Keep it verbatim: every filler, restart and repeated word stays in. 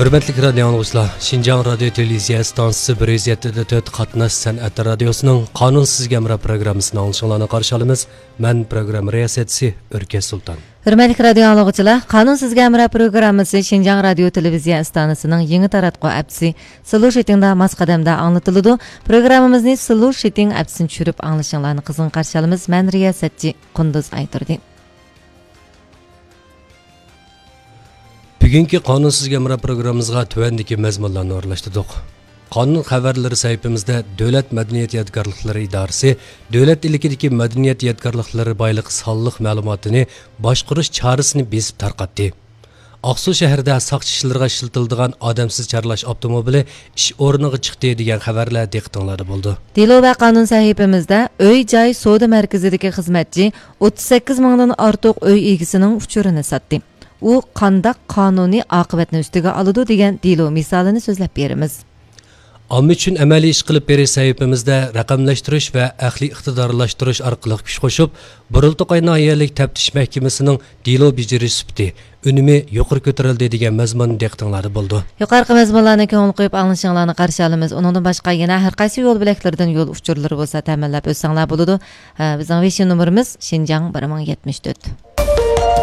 ھۆرمەتلىك رادىيو ئاڭلىغۇچىلار، شىنجاڭ رادىيو تېلېۋىزىيە ئىستانسىسى بىر يۈز يەتتە دە تۆت قاتناش سەنئەت رادىيوسىنىڭ قانۇن سىزگە ھەمراھ پروگراممىسىنى ئاڭلىشىڭلارنى قارشى ئالىمىز. مەن پروگرامما رىياسەتچىسى ئۆركەش سۇلتان. ھۆرمەتلىك رادىيو ئاڭلىغۇچىلار، قانۇن سىزگە ھەمراھ پروگراممىسى شىنجاڭ رادىيو تېلېۋىزىيە ئىستانسىسىنىڭ يېڭى تاراتقۇ ئەپچىسى سلۇشىتىڭدا ماس قەدەمدە ئاڭلىتىلىدۇ. پروگراممىمىزنى سلۇشىتىڭ ئەپچىسىنى چۈشۈرۈپ ئاڭلىشىڭلارنى قىزغىن قارشى ئالىمىز. مەن رىياسەتچى قۇندۇز ئايتۇردى. بۈگۈنكى قانۇن سىزگە ھەمراھ پروگراممىمىزغا تۆۋەندىكى مەزمۇنلارنى ئورۇنلاشتۇردۇق. قانۇن خەۋەرلىرى سەھىپىمىزدە دۆلەت مەدەنىيەت يادىكارلىقلىرى ئىدارىسى دۆلەت ئىلكىدىكى مەدەنىيەت يادىكارلىقلىرى بايلىقى سانلىق مەلۇماتىنى باشقۇرۇش چارىسىنى بېسىپ تارقاتتى. ئاقسۇ شەھىرىدە ساقچى ئىشلىرىغا ئىشلىتىلىدىغان ئادەمسىز چارلاش ئاپتوموبىلى ئىش ئورنىغا چىقتى دېگەن خەۋەرلەر دىققىتىڭلاردا بولىدۇ. دېلو ۋە قانۇن سەھىپىمىزدە ئۆي جاي سودا مەركىزىدىكى خىزمەتچى ئوتتۇز سەككىز مىڭدىن ئارتۇق ئۆي ئىگىسىنىڭ ئۇچۇرىنى ساتتى. ئۇ قانداق قانۇنىي ئاقىۋەتنى ئۈستىگە ئالىدۇ دېگەن دېلو مىسالىنى سۆزلەپ بېرىمىز. ئامما ئۈچۈن ئەمەلىي ئىش قىلىپ بېرىش سەھىپىمىزدە رەقەملەشتۈرۈش ۋە ئەقلىي ئىقتىدارلاشتۇرۇش ئارقىلىق كۈچ قوشۇپ، بۇرۇلتۇقاي ناھىيەلىك تەپتىش مەھكىمىسىنىڭ دېلو بېجىرىش سۈپىتى، ئۈنۈمى يۇقىرى كۆتۈرۈلدى دېگەن مەزمۇن دىققىتىڭلاردا بولىدۇ. يۇقىرىقى مەزمۇنلارنى كۆڭۈل قويۇپ ئاڭلىشىڭلارنى قارشى ئالىمىز. ئۇنىڭدىن باشقا يەنە ھەر قايسى يول بۆلەكلىرىدىن يول ئۇچۇرلىرى بولسا تەمىنلەپ ئۆتسەڭلار بولىدۇ. ھە، بىزنىڭ ۋېشىن نومۇرىمىز شىنجاڭ بىر مىڭ يەتمىش تۆت.